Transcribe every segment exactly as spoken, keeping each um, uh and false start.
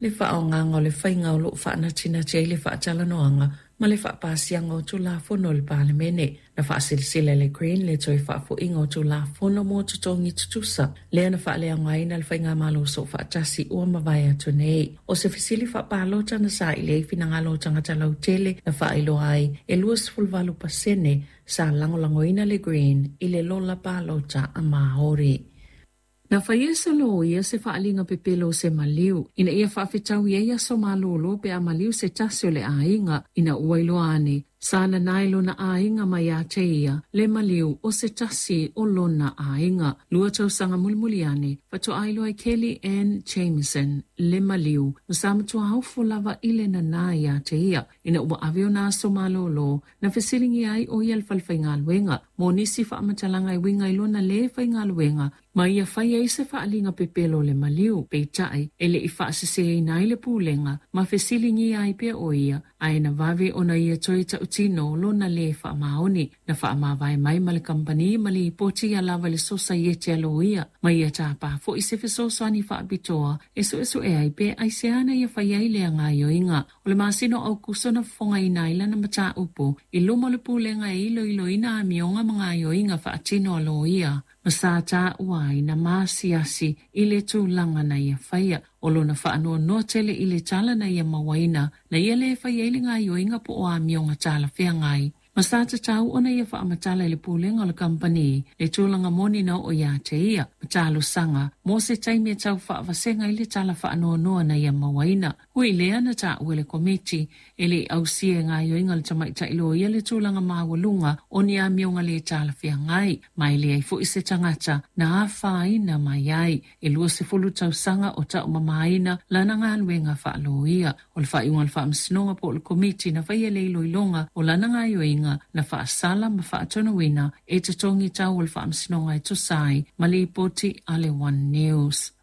Le faaaogaga o le faiga o loo faanatinati ai le faatalanoaga ma le faapasiaga o Tulafono o le Palemene. Na faasilasila e le Green le toe faafoiga o Tulafono mo totogi tutusa lea na faaleaogaina le Faigamalo Soofaatasi ua mavae atu nei. O se fesili faapalota na saili ai finagalo o tagata lautele na faailoa ai e luasefuluvalu pasene sa lagolagoina le Green i le lola palota a Maori. Na faia e se loia se faaaliga pepelo o se maliu ina ia faafetaui ai aso malolo pe a maliu se tasi o le aiga, ina ua iloa ane sa nanae lona aiga mai ia te ia le maliu o se tasi o lona aiga. Lua tausaga mulimuli ane faatoa iloa e Kelly Ann Jameson le maliu, ma sa matua ofo lava i le nana ia te ia. Ina ua ave ona aso malolo, na fesiligia ai o ia le falefaigaluega mo nisi faamatalaga e uiga i lona lē faigaluega ma ia fai ai se faaaliga pepelo o le maliu. Peitai e le i faaseseina ai le pulega ma fesiligia ai pea o ia, ae na vave ona ia toe tautino lona lē faamaoni. Na faamavae mai ma le kamupani ma lipoti ia lava i le Sosaiete a Loia, ma ia tapā foi se fesoasoani faapitoa e suesue ai pe aisea na ia fai ai lea gaoioiga. O le masina o Aukuso na fofogaina ai lana mataupu i luma o le pulega e iloiloina amioga ma gaoioiga faatino a loia, ma sa taua ai na maasiasi i le tulaga na ia faia. O lona faanoanoa tele i le tala na ia mauaina na ia lē fai ai le gaoioiga po o amioga talafeagai, ma sa tatau ona ia faamatala i le pulega o le kamupani le tulaga moni na oo ia te ia, ma talosaga mo se taimi e tau faavasega i le tala faanoanoa na ia mauaina. Ui lea, na taua e le komiti e le i ausia e gaoioiga o le tamaitai loia le tulaga maualuga o ni amioga lē talafeagai, ma e leai foi se tagata na afaina mai ai. E luasefulu tausaga o taumamaina lana galuega faaloia. O le faaiuga o le faamasinoga po o le komiti na faia le iloiloga o lana gaoioiga na faasala ma faatonuina e totogi tau o le faamasinoga e tusa ai ma lipoti a le One News.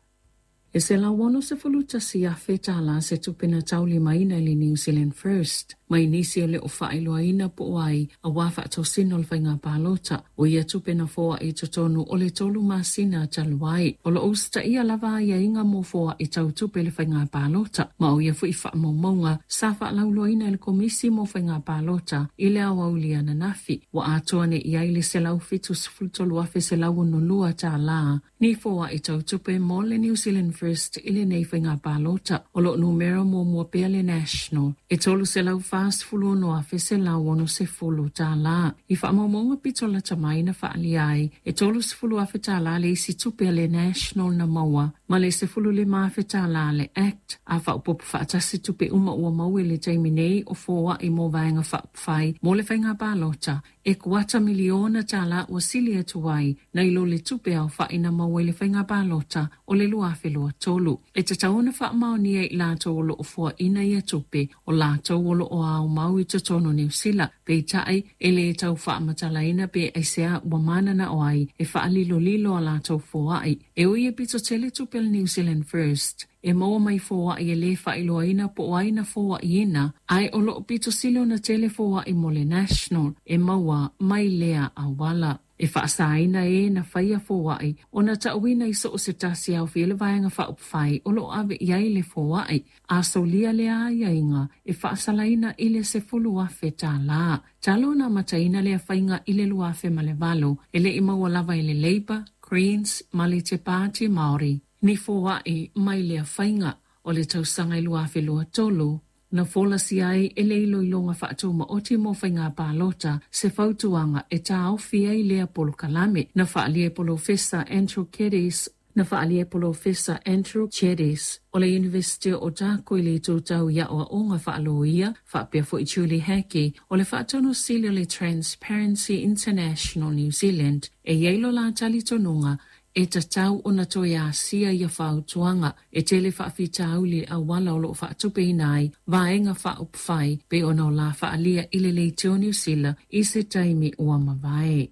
E selau ono sefulu tasi afe tālā se tupe na taulimaina i le New Zealand First mai nisi o le o faailoaina po o ai auā faatosina o le faiga palota. O ia tupe na foai i totonu o le tolu masina talu ai. O loo usitaia lava aiaiga mo foai tau tupe le faiga palota, ma o ia foi faamaumauga sa faalauiloaina e le Komisi mo Faiga Palota i le aoauli ananafi. Ua atoa nei i ai le selau fitu sefulu tolu afe selau ono lua tālā ni foai tau tupe mo le New Zealand First i lenei faiga palota. O loo numera muamua pea le National e tolu selau fasefulu ono afe selau ono sefulu tālā. I faamaumauga pito lata mai na faaalia ai e tolu sefulu afe tālā le isi tupe a le National na maua ma le sefulu lima afe tālā le Act. A faaopoopo faatasi tupe uma ua maua i le taimi nei o foai mo vaega faaupufai mo le faiga palota, e kuata miliona tālā ua sili atu ai nai lo le tupe aofa'i na maua i le faiga palota o le lua afe lua tolu. E tatau ona faamaonia i latou o loo foaina ia tupe o latou o loo aumau i totonu Niu Sila. Peitai e lē tau faamatalaina pe aisea ua mananao ai e faalilolilo a latou foai. E ui e pito tele tupe le New Zealand First e maua mai foai e lē faailoaina po o ai na foaiina, ae o loo pito sili ona tele foai mo le National e maua mai lea auala. E faasaina e na faia foai ona taauina i so o se tasi aofia le vaega faaupufai o loo ave i ai le foai. A solia lea aiaiga, e faasalaina i le sefulu afe tālā. Talu ona amataina lea faiga i le lua afe ma le valo, e le i maua lava e le Labour, Greens ma le Te Pāti Māori ni foai mai lea faiga. O le tausaga i lua afe lua tolu na folasia ai e le iloiloga faatumaoti mo faiga palota se fautuaga e taofi ai lea polokalame. Na faaalia e Polofesa Andrew Keddie na faaalia e Polofesa Andrew Geddes o le University o Otago i le itu tau i aoaoga faaloia, faapea foi Julie Hackey o le faatonu sili o le Transparency International New Zealand, e i ai lo la talitonuga e tatau ona toe asia ia fautuaga. E tele faafitauli auala o loo faatupeina ai vaega faaupufai pe ona o la faaalia i le leitio Niu Sila i se taimi ua mavae.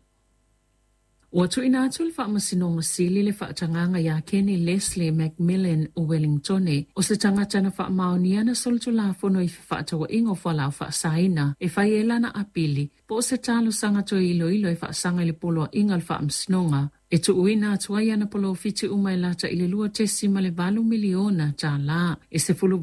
Ua tuuina atu le Faamasinoga Sili le faatagaga iā Kenny Leslie McMillan o Wellingtone, o se tagata na faamaonia na solitulafono i fefaatauaiga o fualaau faasaina, e fai ai lana apili po o se talosaga toe iloilo e faasaga i le poloaiga o le Faamasinoga e tuuina atu ai ana polofiti uma e lata i le lua tesi ma le valu miliona tālā. E sefulu